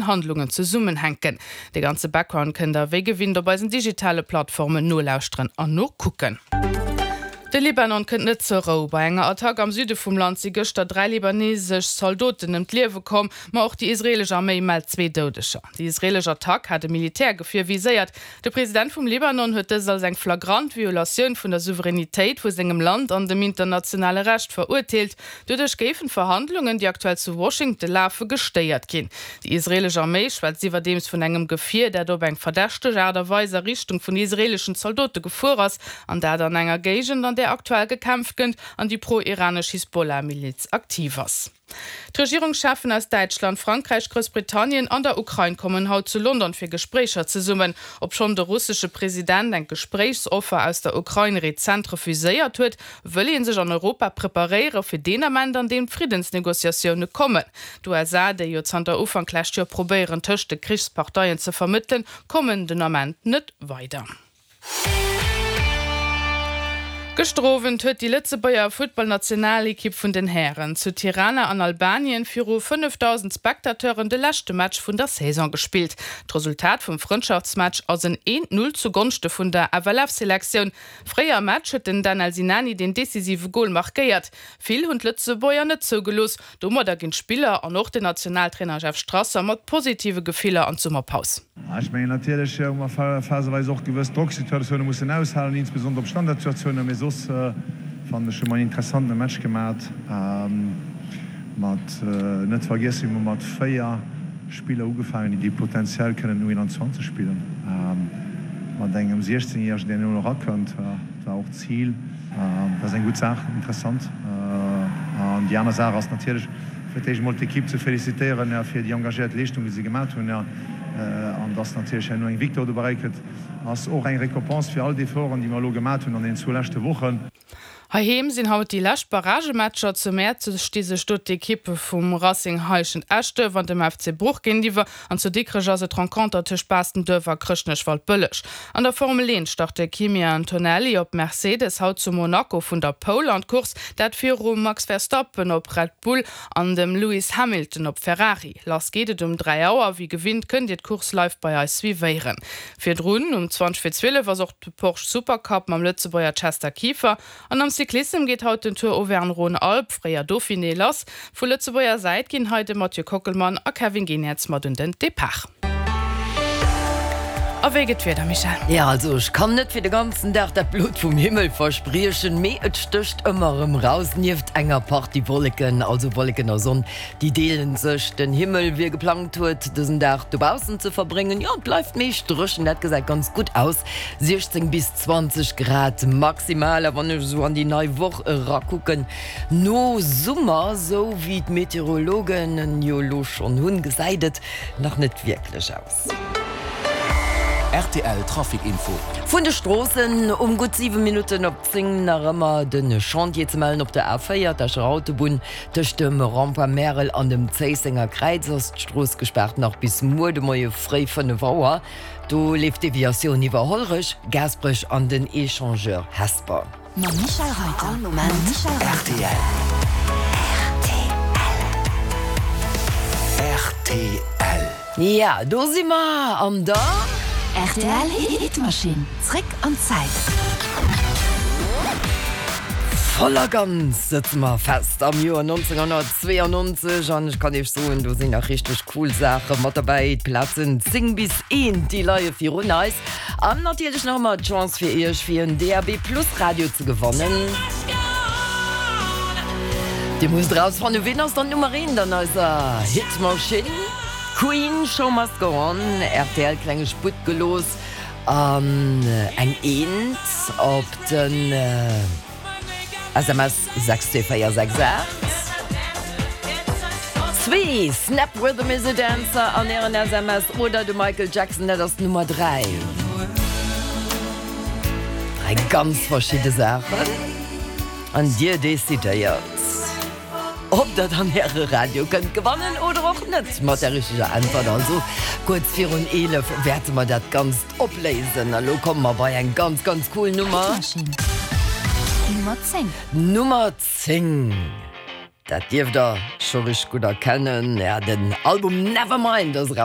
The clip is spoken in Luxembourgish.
Handlungen zesummenhänken. De ganze Background kënnt der wéi gewinnt op eisen digitale Plattformen nolauschteren an nokucken. De Libanon kënnt net zur Rou. Bei enger Attack am Süde vum Land si gëschter 3 libanesesch Zaldoten ëm d'Liewe komm, ma och déi israeelesch Arméi mellt zwee Doudeger. Déi israeelesch Attack hat e Militärgefier viséiert. De President vum Libanon huet dëst als eng flagrant Violatioun vun der Souveränitéit vu sengem Land an dem internationale Recht verurteelt. Doduerch géifen d'Verhandlungen, déi aktuell zu Washington lafen, gestéiert ginn. Déi israeelesch Arméi schwätzt iwwerdeems vun engem Gefier, dat op eng verdächteg Aart a Weis a Richtung vun israeeleschen Zaldote gefuer ass, an dat an enger Géigend, an där aktuell gekämpft gënnt an déi pro-iranesch Hisbollah-Miliz aktiv ass. D'Regierungscheffen aus Däitschland, Frankräich, Groussbritannien an der Ukrain kommen haut zu London fir Gespréicher zesummen. Obschonn de russesche President eng Gespréichsoffer aus der Ukrain rezent refuséiert huet, Wëll ee sech an Europa preparéiere fir deen Ament, an deem d'Friddensnegociatioune kommen. D'USA, déi jo zanter Ufank lescht Joer probéieren, tëscht de Krichsparteien ze vermëttelen, kommen den Ament net weider. Gëschter Owend huet déi Lëtzebuerger Futtballnationalekipp vun den Hären zu Tirana an Albanien viru 5.000 Spectateuren de leschte Match vun der Saison gespillt. D'Resultat vum Frëndschaftsmatch ass en 1, 0 zu Gonschte vun der FLF-Selektioun. Fréi am Match huet den Danel Sinani den decisive Gol markéiert. Vill hunn d'Lëtzebuerger net zougelooss. Domadder ginn d'Spiller an och den Nationaltrainer Jeff Strasser mat positive Gefiller an d'Summerpaus. Ech mengen natierlech hu mer phaseweis och gewëss Drocksituatioune mussen aushalen, insbesondere op Standardsituatiounen, mee soss fannen ech hu mer en interessantene Match gemat. Mat net vergiessen, mir hu mat 4 Spiller ugefaangen, déi potenziell kënnen U21 spillen, mat engem 16 Järegen, deen elo erakënnt. Dat war och d'Zil. Dat ass eng gutt Saach, interessant. An déi aner Saach ass natierlech, fir d'éischt emol d'Ekipp ze felicitéieren fir déi engagéiert Leeschtung, déi se gemat hunn. An dass natierlech herno eng Victoire dobäi kënnt, ass och eng Récompense fir all d'Efforten, déi mer elo gemat hunn an deenen zwou leschte Wochen. Heiheem sinn haut déi lescht Barragematcher. Zu Mäerzeg sti sech do d'Ekippe vum Racing Heischent-Eschduerf an dem FC Bruch géintiwwer an zu Dikrech ass et d'Renconter tëscht Baastenduerf a Chrëschtnech-Waldbëlleg. An der Formel 1 start de Kimi Antonelli op Mercedes haut zu Monaco vun der Pole an d'Course, dat virum Max Verstappen op Red Bull an dem Lewis Hamilton op Ferrari. Lass geet et um 3 Auer. Wéi gewinnt kënnt Dir d'Course live bei eis suivéieren. Virdrun um 20 vir 12 ass och de Porsche Supercup mam Lëtzebuerger Chester Kieffer. An am Cyclissem geet haut den Tour Auvergne-Rhône-Alpes, fréier Dauphiné, lass. Vu Lëtzebuerger Säit ginn hei de Mathieu Kockelmann a Kevin Geniets mat un den Depart. A wéi gëtt d'Wieder, Michèle? Jo, also ech kann net fir de ganzen Dag dat Blot vum Himmel verspriechen, mee et stécht ëmmer erëm raus. Nieft enger Partie Wolleken, also Wolleken a Sonn, Déi deelen sech den Himmel. Wie geplangt huet dësen Dag dobaussen ze verbréngen, jo et bleift meescht dréchen, dat gesäit ganz gutt aus, 16 bis 20 Grad maximal. A wann ech esou an déi nei Woch erakucken, no Summer, esou wéi d'Meteorologen en jo elo schonn hunn, gesäit et nach net wierklech aus. Rtl Trafic Info. Vun de Stroossen um gutt 7 Minutten op 10 nach ëmmer de Chantier ze mellen op der A4, d'Escher Autobunn. Tëscht dem Rond-point Märel an dem Zéissenger Kräiz ass d'Strooss gespaart, nach bis muer de Moie fréi 5 Auer. Do leeft d'Deviatioun iwwer Hollerech, Gaasperech an den Echangeur Hesper. Mam Michel Reiter. All Moment rtl. Rtl. Ja, do si mer an der. Rtl Hitmaschinn, zréck an d'Zäit. Voll a ganz sëtze mer fest am Joer 1992 an ech kann iech soen, do sinn nach richteg cool Saache mat derbäi. D'Plazen 10 bis 1, déi leie virun eis. An natierlech nach ëmmer d'Chance fir iech fir en DAB Plus Radio ze gewannen. Dir musst erausfannen, ween ass dann d'Nummer eent an eiser Hitmaschinn? Queen, Show Must Go On, rtl klenge Sputt gelooss an eng Eent op den. SMS 62468. Zwee, Snap Rhythm is a Dancer an ären SMS oder de Michael Jackson, dat ass d'Nummer 3. Dräi ganz verschidde Saachen an dir decidéiert, ob der dann äre Radio kënnt gewannen oder och net. Mat der richteger Äntwert also kuerz virun 11 wäerte mer dat Ganzt Opléisen. A lo komme mer bei eng ganz, ganz cool Nummer. Hitmaschinn Nummer 10. Nummer 10. Dat dierft der scho richteg gutt erkennen. Ja, den Album Nevermind ass eraus.